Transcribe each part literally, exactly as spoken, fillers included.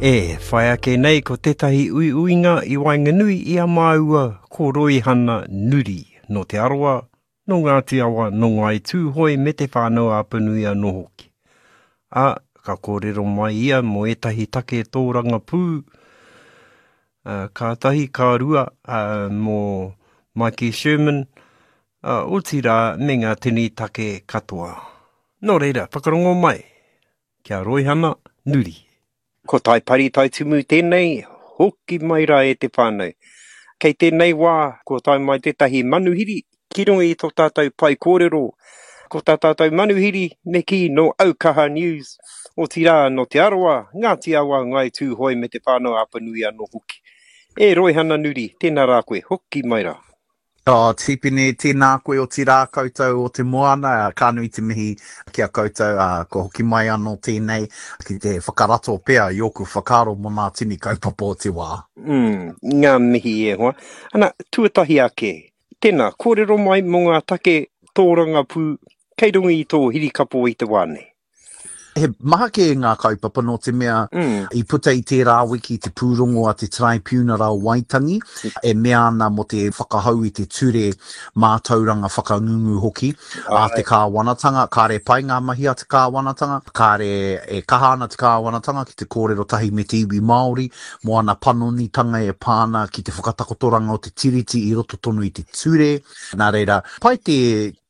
E, whai ake nei ko tētahi uiuinga i waenganui i a māua ko Roihana Nuri, nō Te Arawa, nō Ngāti Awa, nō Ngāi Tūhoe me Te Whānau-a-Apanui anō hoki. Ā, ka kōrero mai ia mō ētahi take tōrangapū, ā, kātahi ka rua, ā, mō Maiki Sherman, ā, otirā me ngā tini take katoa. Nō reira, whakarongo mai ki a Roihana Nuri. Ko Taipari Taitumu tēnei, hoki mai rā e te whānau. Kei tēnei wā, kua tae mai tētahi manuhiri ki runga i tō tātou pae kōrero. Ko tā tātou manuhiri, me kī nō Aukaha News, otirā nō Te Arawa, Ngāti Awa, Ngāi Tūhoe me Te Whānau-a-Apanui anō hoki. E Roihana Nuri, tēnā rā koe, hoki mai rā. Oh, Tipene, tēnā koe otirā koutou o te moana, ka nui te mihi ki a koutou, ā, kua hoki mai anō tēnei ki te whakarato pea i ōku whakaaro mō ngā tini kaupapa o te wā. Mm, ngā mihi e hoa. Ana, tuatahi ake, tēnā, kōrero mai mō ngā take tōrangapū kei runga i tō hirikapo i te wā nei. He maha kē ngā kaupapa nō te mea mm. i puta i tērā wiki te pūrongo a te Taraipiunara o Waitangi e mea ana mō te whakahou i te ture mātauranga whakangungu hoki a te kāwanatanga. Kāre pai ngā mahi a te kāwanatanga, kāre e kaha ana te kāwanatanga ki te kōrero tahi me te iwi Māori mō ana panonitanga e pā ana ki te whakatakotoranga o te Tiriti i roto tonu i te ture. Nā reira, pai te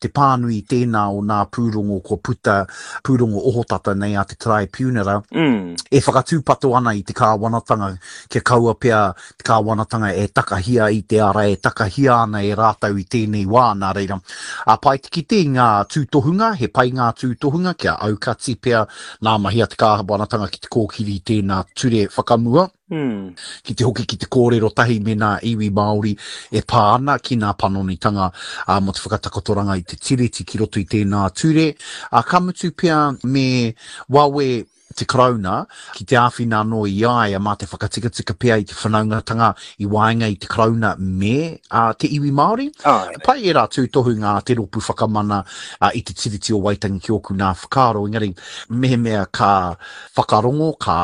te pānui i tēnā o nā pūrongo kua puta, pūrongo ohotata nei a te Taraipiunara, mm. e whakatūpato ana i te kāwanatanga kia kaua pea te kāwanatanga e takahia i te ara e takahia ana e rātou i tēnei wā, nā reira. A pai te kite i ngā tūtohunga, he pai ngā tūtohunga kia aukati pea nā mahi a te kāwanatanga ki te kōkiri i tēnā ture whakamua. Mm. Ki te hoki ki te kōrero tahi me nā iwi Māori e pā ana ki nā panonitanga uh, mō te whakatakotoranga i te tiriti ki roto i tēnā ture. Uh, ka mutu pea me wawe te Karauna ki te āwhina anō i a ia mā te whakatikatika pea i te whanaungatanga i waenga i te Karauna me uh, te iwi Māori. Ai. Pai ērā tūtohunga a te Rōpū Whakamana uh, i te Tiriti o Waitangi ki ōku nā whakaaro, engari mehemea ka whakarongo, ka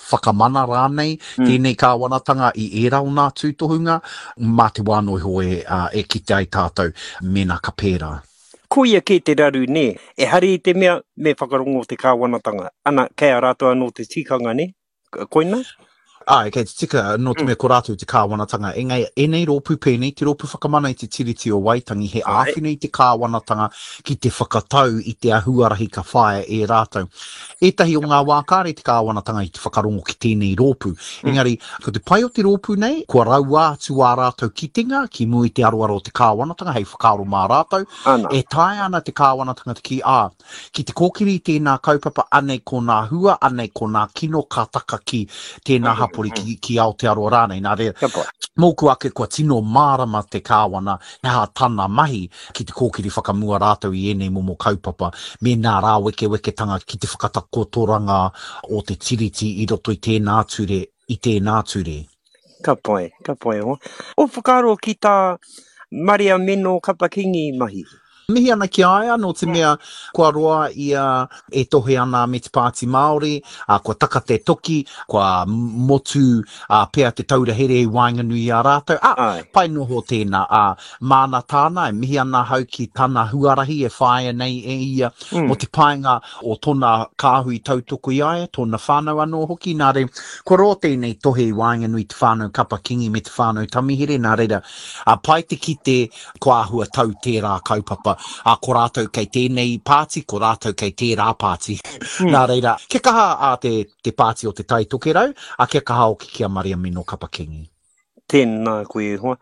whakamana rānei mm. tēnei kāwanatanga i ērā o nā tūtohunga, mā te wā noa iho e, uh, e kite ai tātou mēnā ka pērā. Koia kē te raru, nē? Ehara i te mea me whakarongo te kāwanatanga. Ana, kei a rātou anō te tikanga, nē? Koina? Āe, kei te tika, nō te mea ko rātou te kāwanatanga. Engari, ēnei rōpū pēnei, te Rōpū Whakamana i te Tiriti o Waitangi, he āwhina i te kāwanatanga ki te whakatau i te ahuarahi ka whāia e rātou. Ētahi o ngā wā kāre te kāwanatanga i te whakarongo ki tēnei rōpū. Engari, ko te pai o te rōpū nei, kua raua atu ā rātou kitenga ki mua i te aroaro o te kāwanatanga hei whakaaro mā rātou. E taea ana te kāwanatanga te kī, ā, Ki te kōkiri i tēnā kaupapa, anei ko nā hua, anei ko nā kino ka taka ki tēnā hapori, ki, ki Aotearoa rānei. Nā reira, mōku ake kua tino mārama te Kāwana he aha tana mahi ki te kōkiri whakamua rātou i ēnei momo kaupapa me nā rāwekeweketanga ki te whakatakotoranga o te Tiriti i roto i tēnā ture, i tēnā ture. Ka pai, ka pai. Ō whakaaro ki tā Mariameno Kapa-Kingi mahi? Mihi ana ki a ia, nō te mea kua roa ia e tohe ana me te Pāti Māori, ā, kua taka te toki, kua motu pea te taura here i waenganui i a rātou, ā, pai noho tēnā, ā, māna tāna, e mihi ana ahau ki tana huarahi e whāia nei e ia mō te painga o tōna kāhui tautoko i a ia, tōna whānau anō hoki, nā reira, kua roa tēnei tohe i waenganui i te whānau Kapa Kingi me te whānau Tamihere, nā reira, ā, pai te kite Kua āhua tau tērā kaupapa, ā, ko rātou kei tēnei pāti, ko rātou kei tērā pāti. Nā reira, kia kaha a te, te pāti o Te Tai Tokerau, ā, kia kaha hoki ki a Mariamino Kapa Kingi. Tēnā koe e hoa.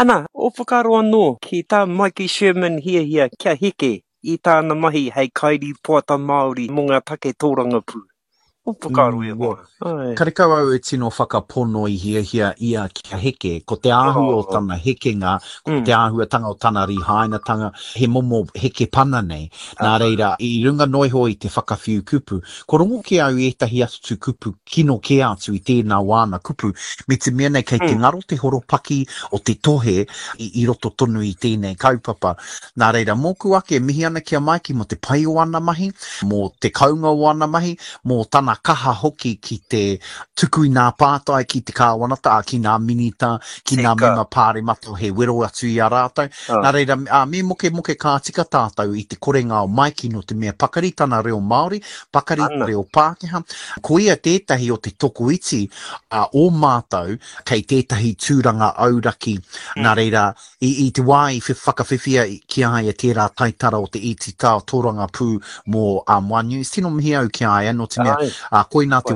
Ana, ō whakaaro anō ki tā Maiki Sherman hiahia kia heke i tāna mahi hei kairīpoata Māori mō ngā take tōrangapū. O whakaaro e hoa. Ai. Karekau au e tino whakapono i hiahia ia kia heke. Ko te āhua o tana hekenga, ko te āhuatanga o tana rīhainatanga, he momo heke pana nei. Nā reira, i runga noa iho i te whakawhiu kupu, kua rongo kē au i ētahi atu kupu kino kē atu i tēnā o āna kupu, me te mea nei kei te ngaro te horopaki o te tohe i roto tonu i tēnei kaupapa. Nā reira, mōku ake, mihi ana ki a Maiki mō te pai o ana mahi, mō te kounga o ana mahi, mō tana tana kaha hoki ki te tuku i nā pātai ki te kāwanata, ki nā minita, ki nā mema pāremata he wero atu i a rātou. Oh. Nā reira, ā, me mokemoke ka tika tātou i te korenga o Maiki nō te mea pakari tana reo Māori, pakari Ana. reo Pākehā. Ko ia tētahi o te tokoiti uh, o mātou kei tētahi tūranga auraki. Mm. Nā reira, i, i te wā i whakawhiwhia ki a ia tērā taitara o te iti tā tōrangapū mō um, One News, tino mihi au ki a ia, nō te mea, uh, koina te wahine